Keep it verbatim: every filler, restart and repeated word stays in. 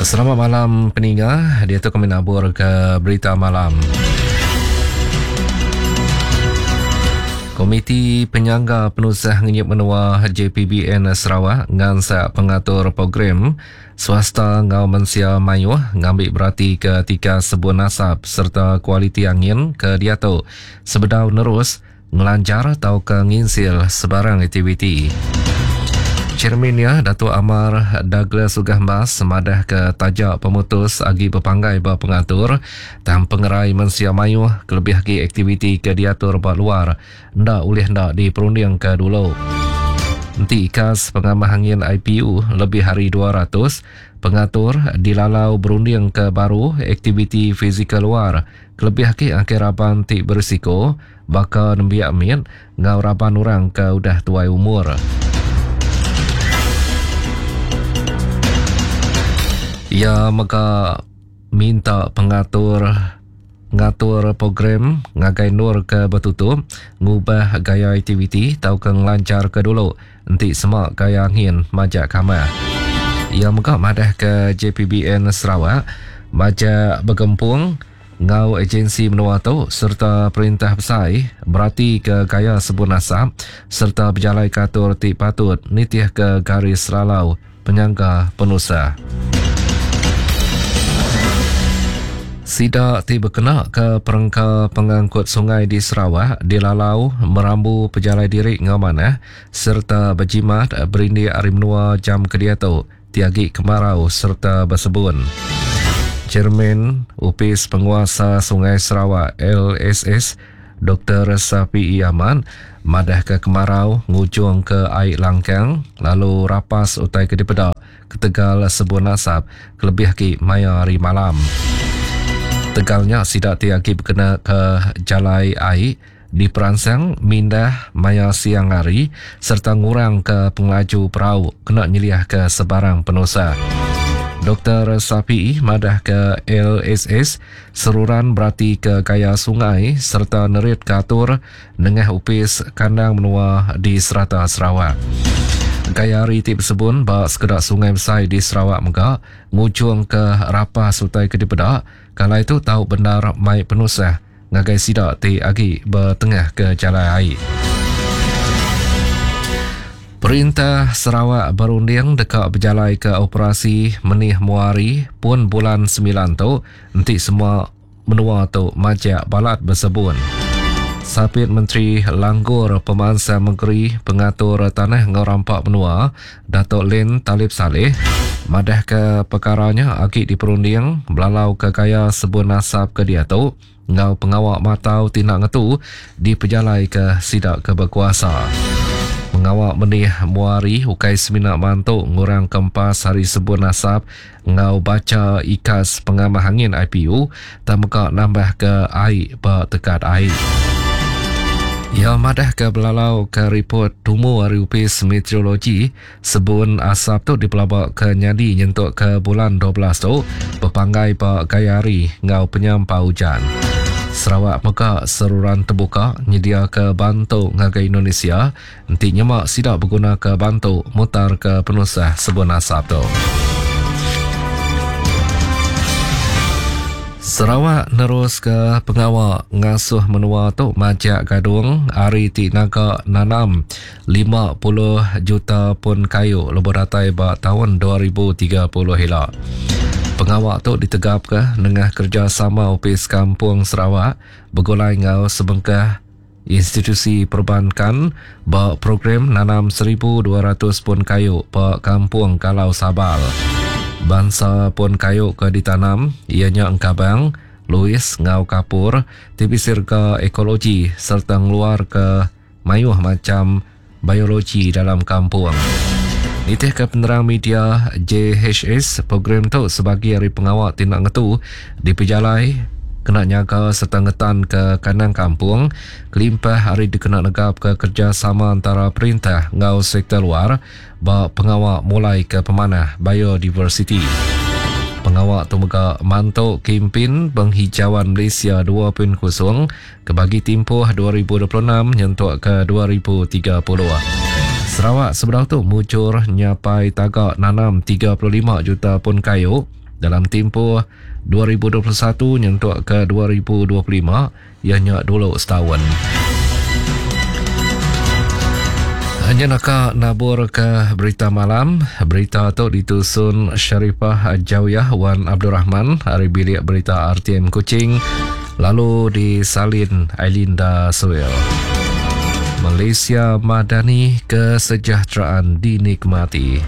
Selamat malam peninga, dia tu kami nabur ke berita malam. Komiti Penyangga Penusah Ngenyit Menua J P B N Sarawak ngansak pengatur program swasta ngau mensia mayuh ngambil berati ke tiga sebun asap serta kualiti angin ke diatu sebedau nerus ngelanjar atau ke nginsil sebarang aktiviti. Chairman ya, Datuk Amar Douglas Uggah Embas semadah ke tajak pemutus agi berpanggai ba pengatur tang pengerai mensia mayuh kelebih agi aktiviti ke diatur ba luar ndak ulih ndak diperunding ke dulu. Enti ikas pengamah angin I P U lebih hari dua ratus, pengatur dilalau berunding ke baru aktiviti fizikal luar kelebih agi akhir raban ti berisiko baka nembiak mit ngau raban orang ke udah tuai umur. Ia mega minta pengatur ngatur program ngagai nur ke bertutup ngubah gaya aktiviti tau ke ngelancar ke dulu enti semak gaya angin majak kamah. Ia mega madah ke J P B N Sarawak majak bergempung ngau agensi menua tu serta perintah besar berarti ke gaya sebun asap serta berjalai katur ti patut nitih ke garis lalau penyangga penusah. Sida ti berkena ke perengka pengangkut sungai di Sarawak dilalau merambu pejalai diri ngau manah serta berjimat berindik hari menua jam kediatu tiagi kemarau serta bersebun. Chairman Upis Penguasa Sungai Sarawak L S S Doktor Safiee Ahmad madah ke kemarau ngujung ke air langkang lalu rapas utai ke dipedak ketegal sebun asap kelebih ki maya hari malam. Tegalnya sidak tiagi berkena ke jalai air di peransang mindah maya siang hari serta ngurang ke pengelaju perahu kena nyeliah ke sebarang penusa. Doktor Safiee madah ke L S S seruran berarti ke gaya sungai serta nerit katur nengah upis kandang menua di serata Sarawak. Gaya hari ti bersebun ba sekedak sungai besar di Sarawak mega ngujung ke rapas utai ke dipedak kalau itu tahu benar mai penusah ngagai sidak ti agi bertengah ke jalan air. Perintah Sarawak berunding dekat berjalai ke operasi Menih Muari pun bulan sembilan tu enti semua menua tu majak balat bersebun. Sapit Menteri Langgur Pemansang Negeri Pengatur Tanah Ngau Rampak Menua Datuk Len Talib Saleh madah ke perkaranya agi diperunding belalau ke gaya sebun asap ke dia tu ngau pengawak matau tindak ngetu dipejalai ke sidak ke berkuasa. Pengawak menih muari ukai semina mantu ngurang kempas hari sebun asap ngau baca ikas pengamah angin I P U tak meka nambah ke air ba tekat air. Ya madah ke belalau ke report tumu hari upis meteorologi sebun asap tu dipelabak ke nyadi nyentuk ke bulan dua belas tu berpanggai ba gaya hari ngau penyampau hujan. Sarawak mega seruran terbuka nyedia ke bantu ngagai Indonesia enti nyemak sidak berguna ke bantu mutar ke penusah sebun asap tu. Sarawak nerus ke pengawak ngasuh menua tu majak gadung hari ti naga nanam lima puluh juta pun kayu lebuh datai ba tahun dua ribu tiga puluh hila. Pengawak tu ditegap ke nengah kerjasama Opis Kampung Sarawak bergulai ngau sebengkah institusi perbankan ba program nanam seribu dua ratus pun kayu ba Kampung Kalau Sabal. Bangsa pun kayu ke ditanam ianya engkabang, Louis ngau kapur, T B sirga ekologi serta ngeluar ke mayuh macam biologi dalam kampung. Nitih ke penerang media J H S, program tu sebagai hari pengawak tindak ngetu di pejalai kena nyaga serta ngetan ke kandang kampung, kelimpah hari dikena negap ke kerjasama antara perintah ngau sektor luar ba pengawak mulai ke pemanah biodiversity. Pengawak tu mega mantuk kempen penghijauan Malaysia dua titik kosong ke bagi tempoh dua ribu dua puluh enam nyentuk ke dua ribu tiga puluh. Sarawak sebelah tu mucur nyapai tagak nanam tiga puluh lima juta pun kayu dalam timpuh dua ribu dua puluh satu nyentuk ke dua ribu dua puluh lima ianya dulu setahun. Hanya nak nabur ke berita malam. Berita tu ditusun Sharifah Jawiyah Wan Abdul Rahman hari bilik berita R T M Kuching, lalu disalin Ailinda Suel. Malaysia Madani, kesejahteraan dinikmati.